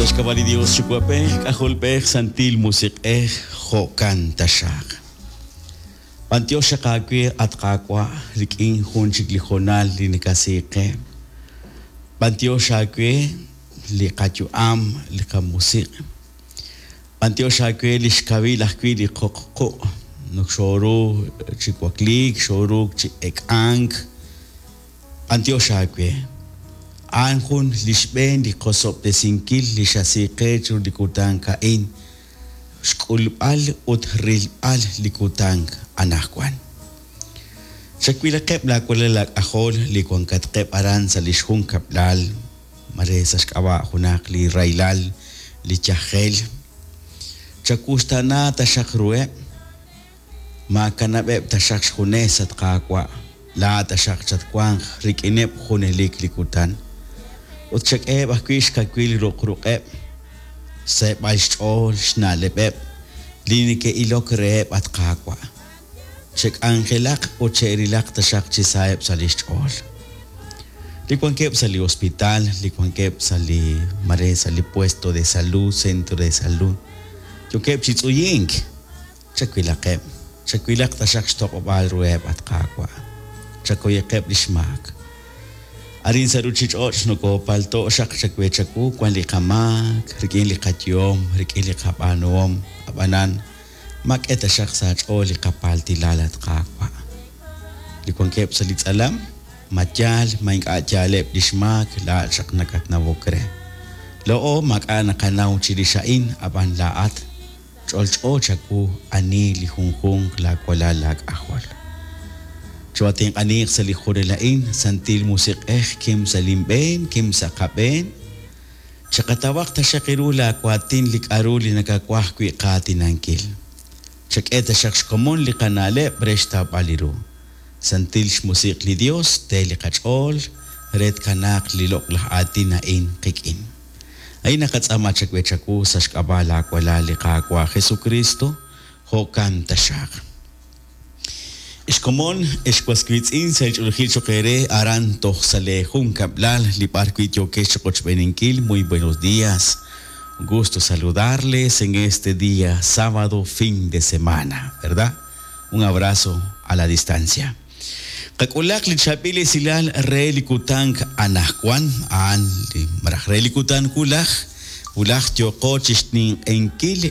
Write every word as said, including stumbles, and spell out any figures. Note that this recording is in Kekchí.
Sa' xk'ab'a' li Dios Yuwa'b'ej, K'ajolb'ej, Santil Musiq'ej, jo'kan taxaq. B'antiox xaq aawe, at Qaawa', rik'in jun chik li hoonal li nakasiiq qe. B'antiox aawe li qayu'am, li qamusiq'. B'antiox aawe li xkawil ajwi' li qoq quq'. Nok xooru chi wakliik, xooru chi ek'ank. B'antiox aawe. A'an jun li xb'een li qosob'tesinkil li xasiiq qe chiru li kutan a'in. Xk'ulb'al ut rilb'al li kutan anaqwan. Chawilaqeb' laawalal laak'ajol li wankatqeb' aran sa' li xjunkab'lal, mare sa' xk'ab'a' junaq li rahilal, li yajel. Chawuxtaana taxaq ruheb', maakanab'eb' taxaq xjunes at Qaawa', laa taxaq chatwanq rik'ineb' junelik li kutan. Ut chak'eheb' ajwi' xkawil ruq' ruq'eb', xseeb'al xch'ool xna'leb'eb' li neke'ilok reheb' at Qaawa'. Chek'anjelaq ut che'rilaq taxaq chi saheb' sa' li xch'ool. Li wankeb' sa' li hospital, li wankeb' sa' li mare sa' li puesto de salud, centro de salud, yookeb' chi tz'uyink. Chawilaqeb', chawilaq taxaq xtoq'ob'aal ruheb' at Qaawa'. Chakoyeqeb' li xmaak. Arin sa' ruchich'och' nokopalto' xaq chawe chawu wan li qamaak, rik'in li qayuhom, rik'in li qab'aanuhom, ab'anan mak'e taxaq sa' ch'ool li qapaltilal at Qaawa'. Li wankeb' sa' li tz'alam, ma yaal, ma ink'a' yaaleb' li xmaak, laa'at xaq nakatnawok re. Lo'o maak'a' naqanaw chirix a'in, ab'an laa'at ch'olch'o chawu ani li junjunq laawalal laak'ajol. Chootinq'aniq sa' li jurel a'in, Santil Musiq'ej, kim sa' linb'een, kim sa' qab'een. Chaqatawaq taxaq iru laawaatin li k'aru li nakawaj wi' qaatinankil. Chak'e taxaq xkomon li qana'leb' re xtawb'al li ru. Santil xmusiq li Dios, te li qach'ool, re tkanaaq li loq'laj aatin a'in qik'in. A'in naqatz'aama chawe chawu sa' xk'ab'a' laawalal li Qaawa' Jesucristo, jo'kan taxaq. Ixkomon, ixwas wiitz'in sa' li ch'oolejil choq eere aran toj sa' le junkab'lal li b'ar wi' yookex chiqochb'eeninkil. Muy buenos días. Un gusto saludarles en este día sábado, fin de semana, ¿verdad? Un abrazo a la distancia. Qak'ulaq li chaab'il esilal re li kutan anaqwan, a'an li maraj re li kutan wulaj, wulaj yooqo chixninq'enkil.